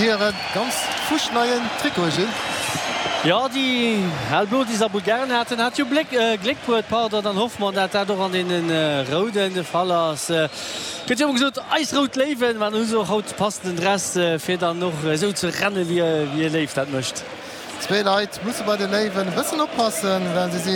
hire ganz fuschneien Trikote, Gilles. Jo, déi hellblo, déi se a Bulgarien haten, hat jo Bléck, Gléck bruet, pardon. Dann hoffe mer, dat dat och an deene Rouden de Fall ass. Gëtt jo ëmmer gesot, eis rout Léiwen, mä dann hu se och haut de passenden Dress, fir dann och esou ze renne wéi e Léiw dat mécht. Zwee Leit musse bei de Léiwen e bëssen oppassen, well se si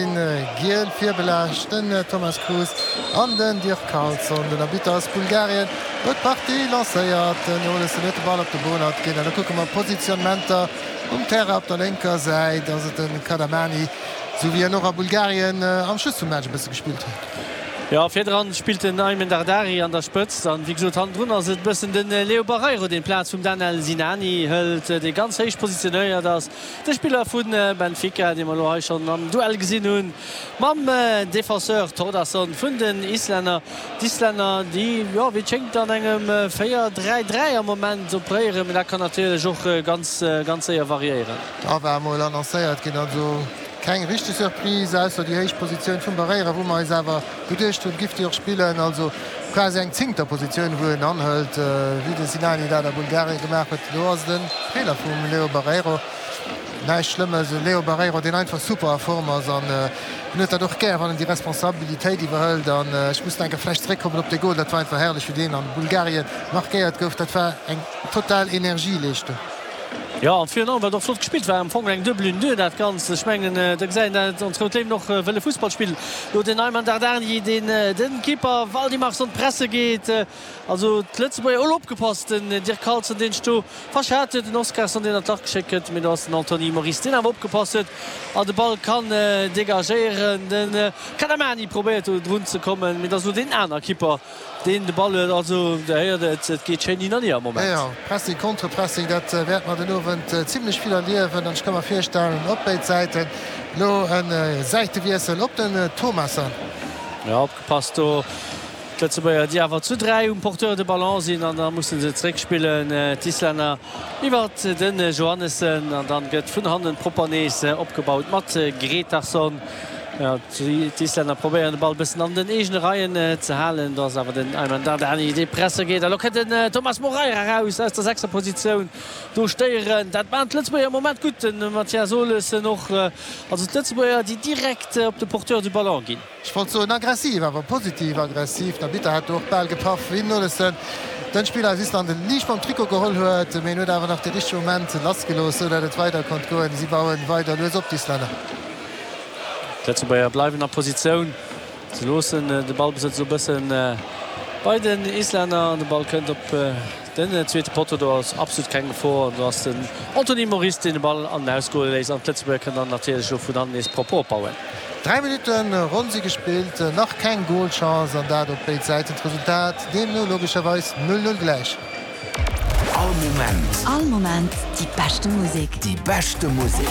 giel virbelaascht, den Thomas Cruz an den Dirk Carlson. Den Arbitter ass Bulgarien, huet d'Partie lancéiert. Den Olesen huet de Ball op de Bohnert ginn an da kucke mer d'Positionnementer um Terrain. Op der lénker Säit ass et de Kadamani, esou wéi en och a Bulgarien am Schluss vum Match e bësse gespillt huet. Jo, virdran spillt den Aymen Dardari an der Spëtzt an wéi gesot hannendrun ass et e bëssen de Leo Barreiro, deen d'Plaz vum Danel Sinani hëlt, dee ganz héich positionéiert ass. De Spiller vu Benfica, dee mer elo hei schonn am Duell gesinn hunn mam Defenseur Thordarson vun den Islänner. D'Islänner, déi, jo, wéi et schéngt an engem 4, 3, 3 am Moment operéieren, mee dat kann natierlech och ganz, ganz séier variéieren. A war emol annoncéiert ginn, also Keng richteg Surprise, ausser déi héich Positioun vum Barreira, wou mer eis awer geduecht hunn, giff déi och spillen. Also quasi eng zéngter Positioun, wou en anhëlt, wéi de Sinani dat a Bulgarien gemaach huet. Do ass et e Feeler vum Leo Barreiro. Näischt Schlëmmes, e Leo Barreiro, deen einfach super a Form ass an en huet dat och gär, wann en déi Responsabilitéit iwwerhëlt. An ech muss nach eng Kéier vläicht zeréckkommen op dee Gol, dat war einfach herrlech, wéi deen an Bulgarien markéiert gouf. Dat war eng total Energieleeschtung. Jo, an virun allem wat och flott gespillt war, am Fong eng Duebel Une Deux dat Ganzt. Ech mengen, do gesäit een, dat ons Rout Léiwen och wëlle Fussball spillen. Lo den Ayman Dardani, deen den Keeper Valdimarsson presse geet. Also d'Lëtzebuerger, elo opgepasst, den Dirk Carlson, deen sech do verschat huet, den Oskarsson, deen an d'Lach geschéckt gëtt, mee do ass den Anthony Moris, deen awer opgepasst huet an de Ball kann degagéieren. De Kadamani probéiert do drun ze kommen, mee et ass elo deen aner Keeper, Deen de Ball huet. Also der héiert et, et geet schéin hin an hier am Moment. Jo, Pressing, Contre-Pressing, dat wäerte mer den Owend zimlech vill erliewen an ech ka mer virstellen, op béid Säiten elo e Säitewiessel op den Thomasson. Jo, opgepasst do, d'Lëtzebuerger, déi awer zu 3 um Porteur de ballon sinn an da musse se zeréckspillen, d'Islänner iwwert de Johannessen an dann gëtt vun hannen propper nees opgebaut mat Gretarsson. D'Islänner probéieren de Ball bëssen an den eegene Reien ze halen. Do ass awer den Ayman Dardani dee presse geet. A lo kënnt den Thomas Moreira eraus aus der Sechserpositioun. Do stéieren, dat maachen d'Lëtzebuerger am Moment gutt. De Mathias Olesen och. Also d'Lëtzebuerger déi direkt op de Porteur du Ballon ginn. Ech wollt soen aggressiv, awer positiv aggressiv. Den Arbitter hat do och bal gepaff, wéi den Olesen den Spiller aus Island liicht mam Trikot geholl huet. Mee en huet awer nach de richtege Moment lassgelooss, sou dat et weider konnt goen. Si bauen weider lues op, d'Islänner. D'Lëtzebuerger bleiwen a Positioun. Se loossen de Ballbesëtz elo bëssen bei den Islänner an de Ball kënnt op den zweete Potto. Do ass absolut keng Gefor an do ass den Anthony Moris, deen de Ball an den Aus goe léisst an d'Lëtzebuerger kënnen dann natierlech elo vun hannen nees propper opbauen. 3 Minutten ronn si gespillt, nach keng Golchance an dat op béid Säiten. D'Resultat deemno logescherweis 0, 0 gläich. All Moment. All Moment déi beschte Musek. Déi beschte Musek.